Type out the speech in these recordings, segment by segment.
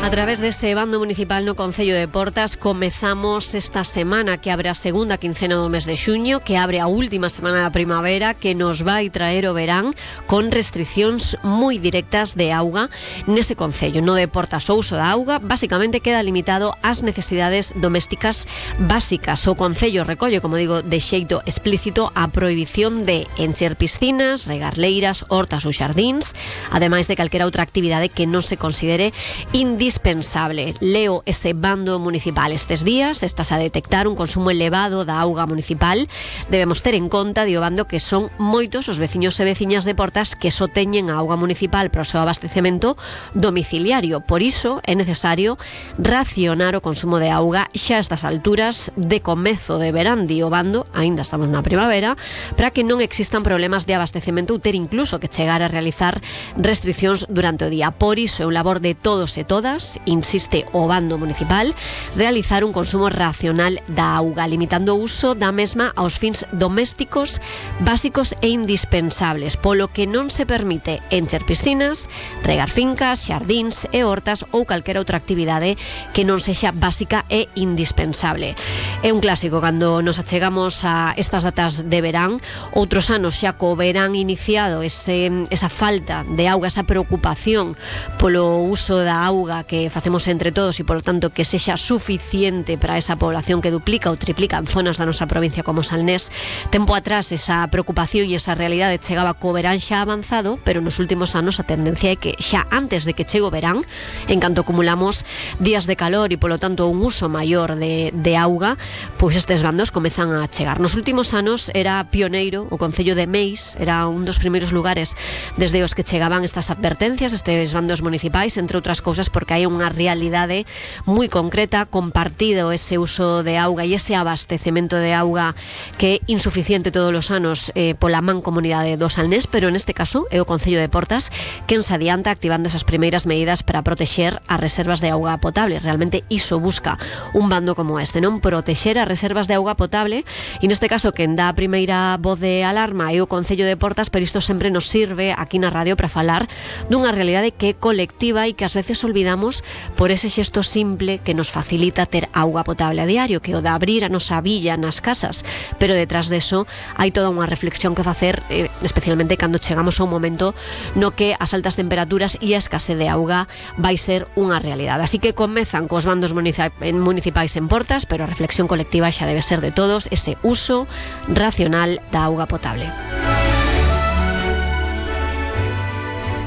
A través dese bando municipal no Concello de Portas comezamos esta semana que abre a segunda quincena do mes de xuño, que abre a última semana da primavera, que nos vai traer o verán con restriccións moi directas de auga nese Concello. No de Portas o uso da auga basicamente queda limitado ás necesidades domésticas básicas. O Concello recolle, como digo, de xeito explícito a prohibición de encher piscinas, regar leiras, hortas ou xardíns, ademais de calquera outra actividade que non se considere indispensable. Leo ese bando municipal estes días. Estás a detectar un consumo elevado da auga municipal. Debemos ter en conta, dio bando, que son moitos os veciños e veciñas de Portas que só teñen a auga municipal para o seu abastecemento domiciliario. Por iso é necesario racionar o consumo de auga xa a estas alturas de comezo de verán, dio bando, aínda estamos na primavera, para que non existan problemas de abastecemento ou ter incluso que chegar a realizar restriccións durante o día. Por iso é un labor de todos e todas, insiste o bando municipal, realizar un consumo racional da auga, limitando o uso da mesma aos fins domésticos básicos e indispensables, polo que non se permite encher piscinas, regar fincas, xardíns e hortas ou calquera outra actividade que non sexa básica e indispensable. É un clásico cando nos achegamos a estas datas de verán. Outros anos xa co verán iniciado, esa falta de auga, esa preocupación polo uso da auga que facemos entre todos e, polo tanto, que sexa suficiente para esa población que duplica ou triplica en zonas da nosa provincia como Salnés. Tempo atrás esa preocupación e esa realidade chegaba co verán xa avanzado, pero nos últimos anos a tendencia é que xa antes de que chegue o verán, en canto acumulamos días de calor e, polo tanto, un uso maior de auga, pois estes bandos comezan a chegar. Nos últimos anos era pioneiro o Concello de Meis, era un dos primeiros lugares desde os que chegaban estas advertencias, estes bandos municipais, entre outras cousas porque hai unha realidade moi concreta, compartido ese uso de auga e ese abastecemento de auga que é insuficiente todos os anos pola mancomunidade do Salnés, pero neste caso é o Concello de Portas quen se adianta activando esas primeiras medidas para protexer as reservas de auga potable. Realmente iso busca un bando como este, non? Protexer as reservas de auga potable, e neste caso quen dá a primeira voz de alarma é o Concello de Portas, pero isto sempre nos sirve aquí na radio para falar dunha realidade que é colectiva e que ás veces olvidamos por ese xesto simple que nos facilita ter auga potable a diario, que o de abrir a nosa billa nas casas, pero detrás deso hai toda unha reflexión que facer, especialmente cando chegamos a un momento no que as altas temperaturas e a escasez de auga vai ser unha realidade. Así que comezan cos bandos municipais en Portas, pero a reflexión colectiva xa debe ser de todos, ese uso racional da auga potable.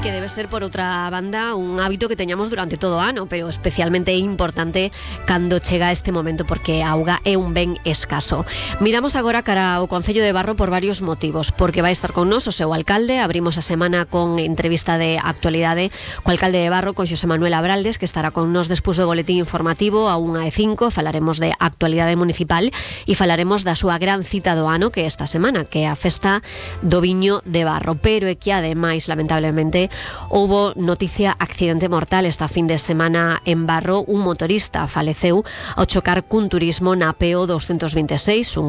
Que debe ser, por outra banda, un hábito que teñamos durante todo o ano, pero especialmente importante cando chega este momento, porque a auga é un ben escaso. Miramos agora cara ao Concello de Barro por varios motivos, porque vai estar con nos o seu alcalde. Abrimos a semana con entrevista de actualidade co alcalde de Barro, con Xosé Manuel Abraldes, que estará con nos despois do boletín informativo a 1:05. Falaremos de actualidade municipal e falaremos da súa gran cita do ano, que é esta semana, que é a festa do viño de Barro, pero é que ademais, lamentablemente, houbo noticia accidente mortal esta fin de semana en Barro. Un motorista faleceu ao chocar cun turismo na PO 226,